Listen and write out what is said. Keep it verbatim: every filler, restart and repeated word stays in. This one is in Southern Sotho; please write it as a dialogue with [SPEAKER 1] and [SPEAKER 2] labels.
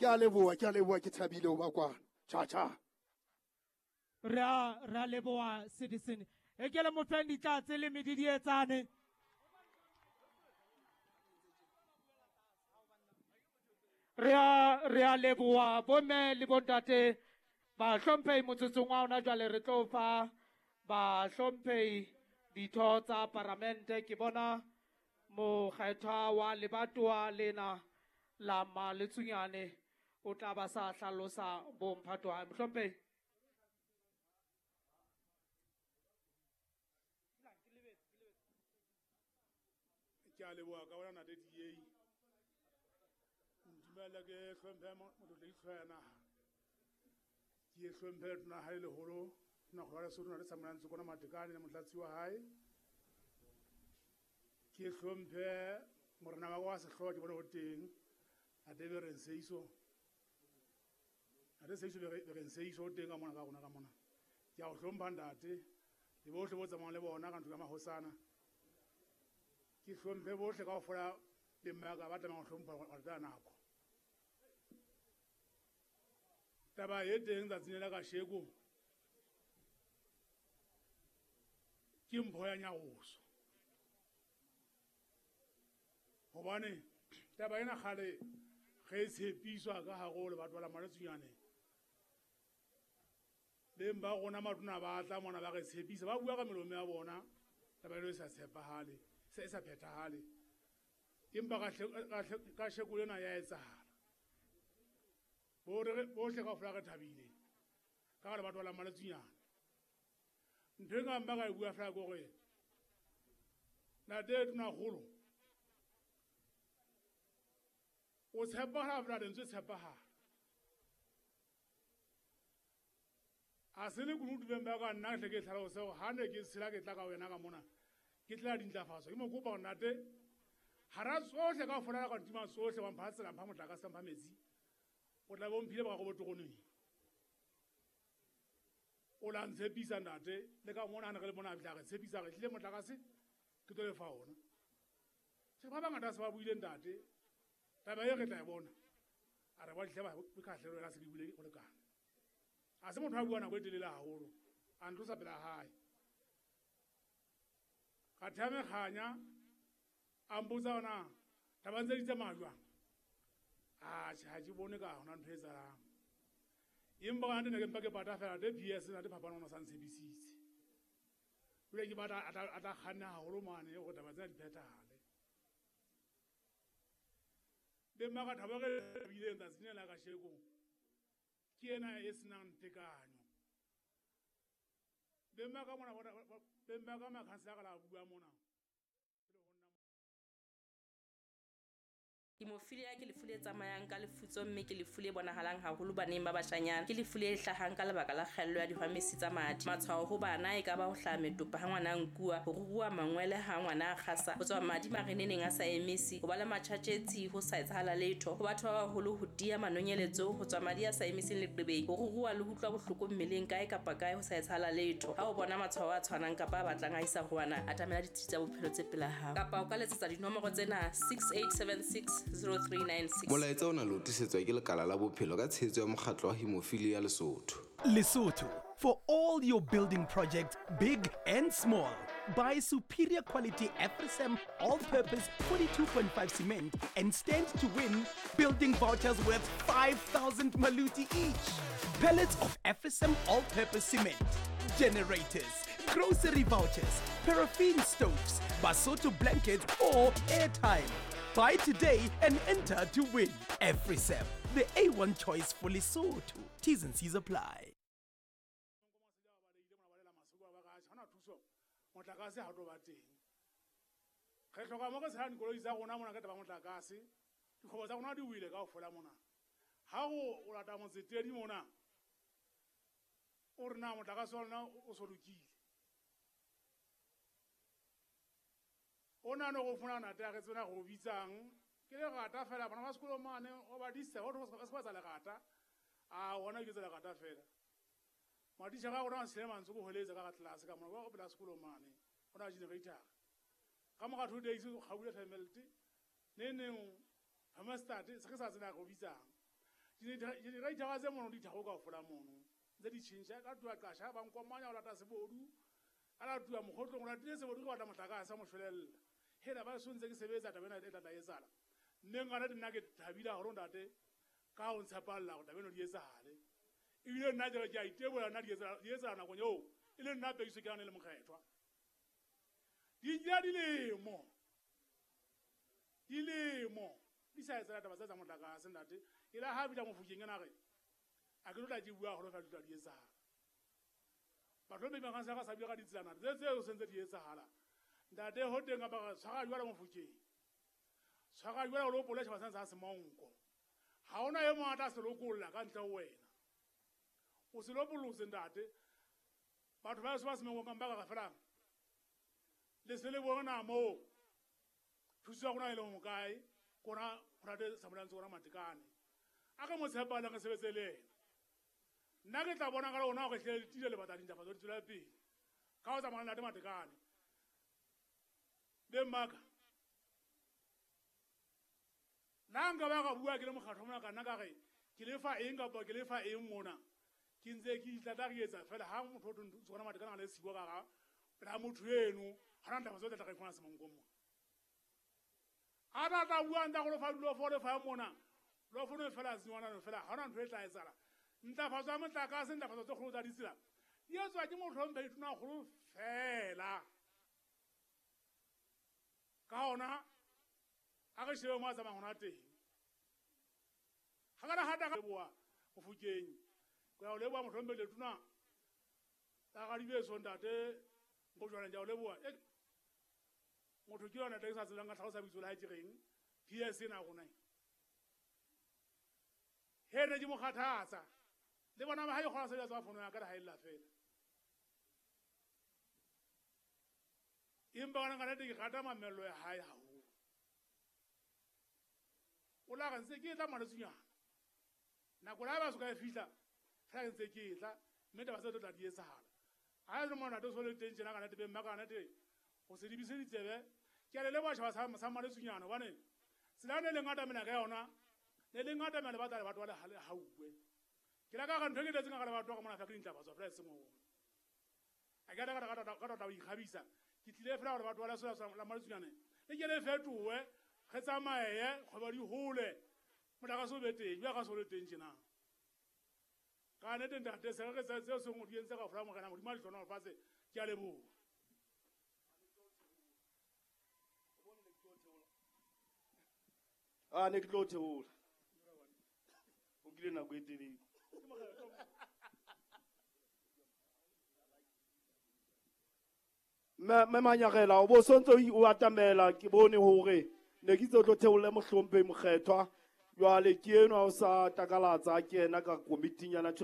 [SPEAKER 1] Ke a leboha, ke a leboha, ke thabile ho ba kwana. Cha cha.
[SPEAKER 2] Re a re a leboha citizen. E ke le mo feng ditlatse le medidietsane. Re a re a leboha bomme le bontate ba hlomphehi motsotsong wa hona jwale re tlo fa ba hlomphehi ditho tsa paramente. Ke bona mokgethwa wa lebatowa lena la Maletsunyane o tla ba sa hlalosa bomphato wa hae. Mohlomphehi.
[SPEAKER 3] Ke a leboha ka bona ntate D A. Ntumella ke hlomphe motlotlegi hlooho ya naha. Ke hlomphe letona la hae leholo, Tonakgolo ya Lesotho, Ntate Samuel Ntshokwana Matekane le motlatsi wa hae. Ke hlomphe morena wa ka wa sehlooho ke bone ho teng, Ntate Bereng Seiso. Ntate Seiso Bereng Seiso o teng ka mona ka rona ka mona. Ke a o hlompha ntate le bohle bo tsamayang le bona ka ntlo ya mahosana. Ke hlomphe bohle kaofela le mme wa ka ba tlamehang ho hlompha ho latela nako. Taba e teng tsatsing la kasheko ke mpho ya nyaroso. Hobane taba ena kgale ge e tshepiswa ka hare ho lebatwa la Maletsunyane, beng ba rona matona ba tla mona ba re tshepisa, ba bua ka melomo ya bona, taba eno e sa tshepahale, se e sa phethahale. Empa kasheko lena ya etsahala. Bohle kaofela re thabile ka lebatwa la Maletsunyane. Ntho e nkang ba ka e bua fela ke hore ntate Tonakgolo o tshepahala fela, lentswe tshepahala. A se le kunutu beng ba ka nna hle ke tlhalose hore ha ne ke tshela ke tla ka wena ka mona, ke tlela dintlafatso. Ke mo kopa hore ntate, hara tsohle kaofela ka ntima tsohle, wa mpha tsela, mpha motlakase, mpha metsi, o tla be o mphile boraro bo toroneng. O la ntshepisa ntate, le ka mona ha ne re le mona a fihla a re tshepisa, re tlile motlakase, ke tlo lefa ona. Tjhe, ba bangata se ba buile ntate, taba e re tla e bona. A re ba dihle ba kgahlelo yena se ke buile ho lekana. A se motho a bua nako e telele haholo, a ntlosa pela hae. Ka thea mekganya, a mpotsa hore na taba ntse di tsamaya jwang. Atjhe, ha ke bone ka hona ntho e etsahalang. Empa ka nnete ne ke mpa ke pata fela, ntate P S ntate Phapano o ne sa ntshepisitse. Jwale ke batla a tla, a tla kganna haholo mane hore taba tsena di phethahale. Beng ba ka thabo re bileng tsatsing lena la kasheko, ke ena e senang tekanyo. Beng ba ka mona, beng ba ka makhansela ka la bua mona.
[SPEAKER 4] Hemophilia ke lefu le tsamayang ka lefutso mme ke lefu le bonahalang haholo baneng ba bashanyana. Ke lefu le hlahang ka lebaka la kgaello ya dihwamesi tsa madi. Matshwao ho bana e ka ba ho hlaha metopa ha ngwana a nkuwa, ho ruruha mangwele ha ngwana a kgasa, ho tswa madi mareneneng a sa emisi, ho ba le matjhatjhetsi ho sa etsahala letho, ho batho ba baholo ho tiya manonyeletso, ho tswa madi a sa emising leqebeng, ho ruruha le ho utlwa bohloko mmeleng kae kapa kae ho sa etsahala letho. Ha o bona matshwao a tshwanang kapa a batlang a isa ho wena, atamela ditsi tsa bophelo tse pela hao. Kapa o ka letsetsa dinomoro tsena six eight seven six zero three nine six.
[SPEAKER 5] Molaetsa ona le o tlisetswa ke lekala la bophelo ka tshehetso ya mokgatlo wa Hemophilia Lesotho.
[SPEAKER 6] Lesotho, for all your building projects, big and small. Buy superior quality Afrisam all-purpose forty-two point five cement and stand to win building vouchers worth five thousand maluti each. Pallets of Afrisam all-purpose cement, generators, grocery vouchers, paraffin stoves, Basotho blankets or airtime. Buy today and enter to win. Afrisam, the A one choice for Lesotho. T's and C's apply.
[SPEAKER 3] Motlakase ha o tlo ba teng. Re hloka mo re tshelang dikoloi tsa rona mona ka taba motlakase. Dikgwebo tsa rona di wile kaofela mona. Ha o o lata motsetedi mona, o re na motlakase wa lona o so lokile. O nahane hore o fumana ntate a re tsena re o bitsang. Ke lerata fela, bana ba sekolo mane, o ba disa, o ba se ba tsa lerata. A hona ke tsa lerata fela. Matitjhere a rona a ntshile mantswe ko hweletsa ka tlelase ka mona, ba o pela sekolo mane, o na generator. Ka mora two days o kgaule family, ne neng Hammerstad se re sa tsena re o bitsang. Digenerator tse mono di tharo kaofela mono ntse di tjhentjha ka tloha Qasha ba nkomanya ho lata sebodu a latuwa mokgotlong o latile sebodu ke batla motlakase mo shwelella hela ba so ntse ke sebetsa taba ena e tla tla etsahala mme ngwana nna ke thabile haholo ntate ka ho ntshepalla hore taba eno di etsahale ebile nna ke a itebola nna di etsahala di etsahala nakong eo e le nna Pekiso ke yane le mokgethwa di nkile dilemo dilemo di sa etsahala taba tsa tsa motlakase ntate e la ha fihla Mofokeng ena re a ke tlo tla ke bua haholo fela di tla di etsahala batho ba bang ka sa bua ka ditselana tse tseo se ntse di etsahala ntate ho teng kapa re tshwara jwalo Mofokeng tshwara jwalo o lo pola tjhaba sa Semonko ha hona e mong a tla se lokolla ka ntle ho wena o se lopolotse ntate batho ba ba Semonko ka ba ka fela le se le bona moo thuso ya rona e le mo kae kona ntate Samuel Ntse kona Matekane a ka mo tshepala re sebetse le yena nna ke tla bona ka lona hore hle le tile le batla dintlafatso di tswela pele ka ho tsamaya le ntate Matekane be mmaka nna nka ba ka bua ke le mokgatlo mona ka nna ka re ke lefa eng kapa ke lefa eng mona ke ntse ke itla re etsa fela ha motho o tsona Matekane a le siwa ka ga pela motho eno ha na ntlafatso tla tla ka Semonko mona a tla tla bua ntsa go lefa dilo fo lefa mona lo fono fela tswana no fela ha ona ntho e tla etsahala ntlafatso ya motlakase ntlafatso tse kgolo tsa ditsela di etswa ke mohlomphehi Tonakgolo fela ka hona a re shebe mo a tsamayang hona teng ha ka ra hata ka leboha Mofokeng ke ya o leboha mohlomphehi Letona la Radibeso ntate Nkojwana ke ya o leboha motho ke yona ke sa tsebang ka tlhalosa bitso la hae ke reng P S ena rona he ne ke mo kgathatsa le bona ba hae kgona sebetsa tsa fono ya ka ha illa fela empa bona ka nnete ke rata mamello ya hae haholo o la re ntse ke tla Maletsunyana nako la ba so ka e fihla fela ntse ke tla mme taba tse tlo tla di etsahala ha le mona to so le teng tjena ka nnete be mma ka nnete o se dibise ditsebe ke a le leboha tjhaba sa sa Maletsunyana hobane tsela ne le ngata mena ka yona ne le ngata mena le batla le batho ba le hauwe ke la ka ga ntho e ke tletseng ka le batho ka mona fa ke dintlafatso fela e seng ho a ke ka ka ka ka ikgabisa ke tlile fela hore batho ba la la Maletsunyane le ke le fetowe re tsamaye kgwebo di hole motlakase o be teng jwa ka so le teng tjena ka nnete ntate se re seo seng o di entse ka fela morena Modimo a le hlohonolofatse ke a leboha.
[SPEAKER 7] A ne ke tlo theola o kile nako e telele mme Manyagela o bo sontse o atamela ke bone hore ne ke itse o tlo theolle mohlomphehi mokgethwa jwale ke enwa o sa takalatsa ke yena ka komiting ya